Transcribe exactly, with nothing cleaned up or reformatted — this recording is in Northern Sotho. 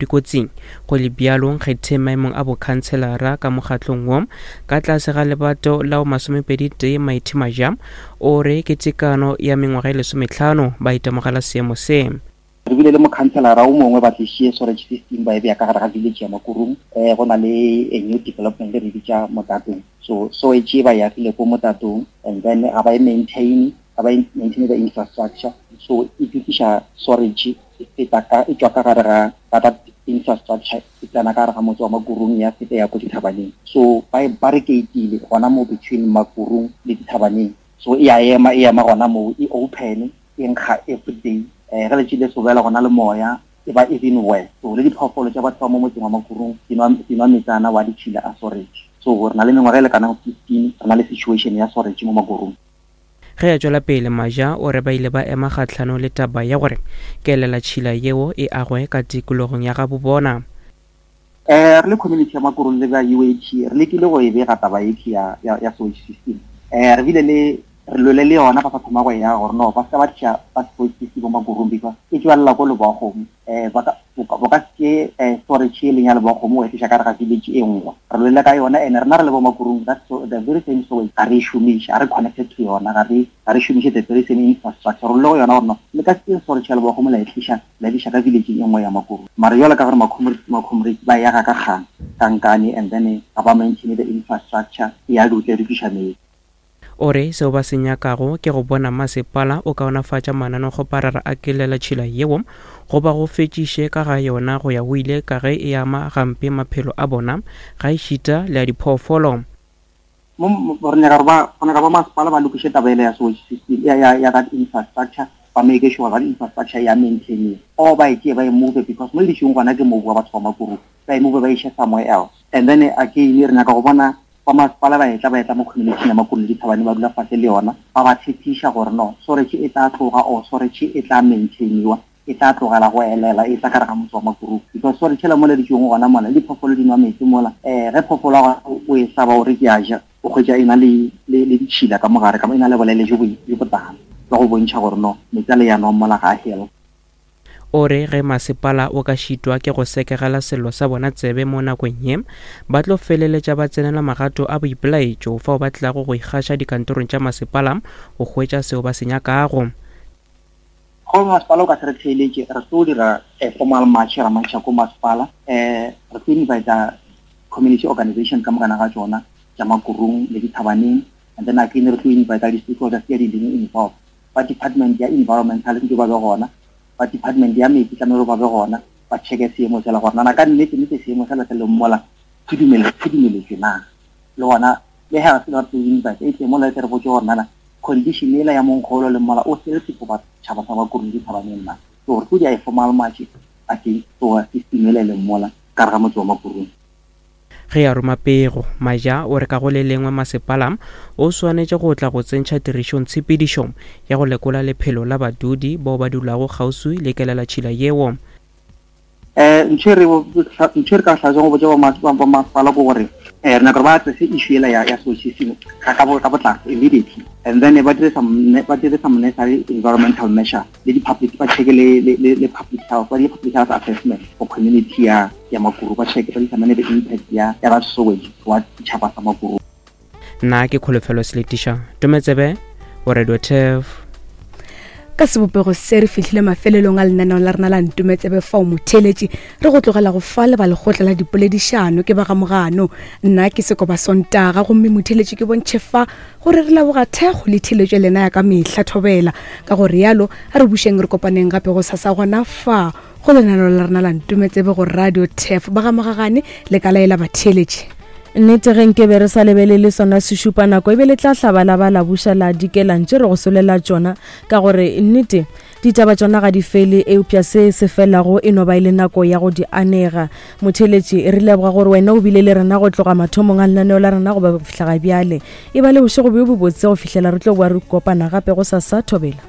Dikotsing. Go le bjalo, Nkgetheng maemong a bokhanselara ka mokgatlong wo ka tlase ga lebato la masomepedi tee Mighty Maja o re ke tekano ya mengwaga e lesometlhano ba itemogela seemo se. Re bile le mokhanselara o mongwe ba tlišie sewerage system ba e beya ka gare ga village ya Makurung. um go na le a new development re bitša Motatong. So sewage e ba e agile ko Motatong, and then ga ba e maintain, ga ba e maintain the infrastructure. So e dutliša sewerage e feta ka e tšwa ka gare ga ga that infrastructure e tsena ka gare ga motse wa Makurung ya feta ya ko dithabaneng. So ba e barricade-ile gona mo between Makurung le dithabaneng. So e a ema e ema gona moo e open e nkga every day. um ge letšatši le sobela gona le moya e ba even worse. So le diphoofolo tša batho ba mo motseng wa Makurung di nwa di nwa metsana wa ditšhila a sewerage. So re na le mengwaga e lekanang fifteen re na le situation ya sewerage mo Makurung. Ge a tšwela pele, Maja o re ba ile ba ema kgahlano le taba ya gore kelelatšhila yeo e agwe ka tikologong ya gabo bona. um re le community ya Makurung le ba U A T re lekile go e bega taba e ya ya ya sewage system. um re bile le re lwele le yona ba sa thoma go e aga gore no ba se ba tliša ba sewage system mo Makurung because e tšwelela ko Lebowakgomo. um ba ka bo ka se um storage e leng ya Lebowakgomo o e tliša ka gare ga village e nngwe. Re lwele ka yona and rena re le bo Makurung that's so, the very same sewage ga re e šomiše, ga re connected to yona, ga re ga re šomiše the very same infrastructure. Re lwele go yona gore no le ka se storage ya Lebowakgomo la e tliša la e tliša ka village e nngwe ya Makurung. Mara jwalo ka gore ma-comrades ba e aga ka kgang kankane and then ga ba maintain the infrastructure e ya dutla e dutliša metsi. O re seo ba se nyakago ke go bona masepala o kaonafatša mananekgoparara a kelelatšhila yeo goba go fetšiše ka ga yona go ya go ile ka ge e ama gampe maphelo a bona ga ešita le a diphoofolo. Mo re nyaka gore ba go nyaka ba masepala ba lokiše taba ele ya sewage system ya ya ya that infrastructure, ba make sure that infrastructure ya maintain or ba e tšee ba e move because mo le dišong gona ke mobu wa batho ba Makurung, ba e move ba iše somewhere else. And then again re nyaka go bona ba masepala ba etla ba etla mo community ya Makurung le dithabane ba dula fase le yona ba ba tshepiša gore no sewerage e tla tloga or sewerage e tla maintainiwa, e tla tlogela go elela e tla ka gare ga motse wa Makurung because sewerage la mo le ditšong gona mola le diphoofolo di nwa metsi mola. um ge phoofolo ya gona o e hlaba o re ke a ja o hwetša e na le le le ditšhila ka mogare ka e na le bolele jo bo botala ba go bontšha gore no metsi a le ya nwang mola ga a healthy. O re ge masepala o ka šitwa ke go sekegela sello sa bona tsebe mo nakong ye, ba tlo feleletša ba tsenela magato a boipelaetšo fao ba tlago go ikgaša dikantorong tša masepala go hwetša seo ba se nyakago. Go masepala o ka se re theeletše, re tlo dira a formal march ra marcha ko masepala. um re tlo invite community organization ka mokana ga tšona tša Makurung le dithabaneng, and then again re tlo invite di-stakeholders tse di leng involved. Ba department ya environmental ntse ba be gona, ba department ya metsi tlamehile ba be gona, ba checke seemo sela gore nana ka nnete nnete seemo sela se leng mola se dumeletšwe na. Le gona le health ba tlo invite e tle mola e tle re botse gore nana condition ela ya monkgolo le mola o healthy for batšhaba sa Makurung le dithabaneng na. So re tlo dia formal march against sewer system ela e leng mola ka gare ga motse wa Makurung. Ge a roma pego, Maja o re ka go le lengwe masepala o swanetše go tla go tsentšha tirišong tshepedišo ya go lekola lephelo la badudi bao ba dulago kgauswi le kelelatšhila yeo. um ntho e re ntho e re ka hlalosa go botša ba masepala ke gore um re nyaka gore ba address issue ela ya ya sewage system ka ka potlako immediately, and then ba dire some ba dire some necessary environmental measure le di-public ba check le le le public health, ba dire public health assessment for community ya ya Makuru, ba check ba determine the impact ya ya that sewage wa setšhaba sa Makuru. Nna ke Kholofelo Seletiša, Tometsebe o Radio Turf. Ka sebopego se re fihlile mafelelong a lenaneo la rena la Ntometsebe fao motheeletši re go tlogela go fa le ba lekgotla la dipoledišano ke ba ga Mogano. Nna ke Sekoba Sontaga gomme motheeletši ke bontšhe fa gore re leboga thekgo le theeletšo lena ya ka mehla thobela. Ka go rialo a re bušeng re kopaneng gape go sasa gona fa go lenaneo la rena la Ntometsebe go Radio Turf. Ba ga Mogagane le ka laela batheeletši. Nnete ge nke be re sa lebelele sona sešupa nako e be le tla hlaba la ba la buša la dikelang tše re go solela tšona, ka gore nnete ditaba tšona ga di fele, eupša se se felago e no ba e le nako ya go di anega. Motheeletši, re leboga gore wena o bile le rena go tloga mathomong a lenaneo la rena go ba go fihla ga bjale. E ba le bošego bjo bobotse go fihlela re tlo boa re kopana gape go sasa. Thobela.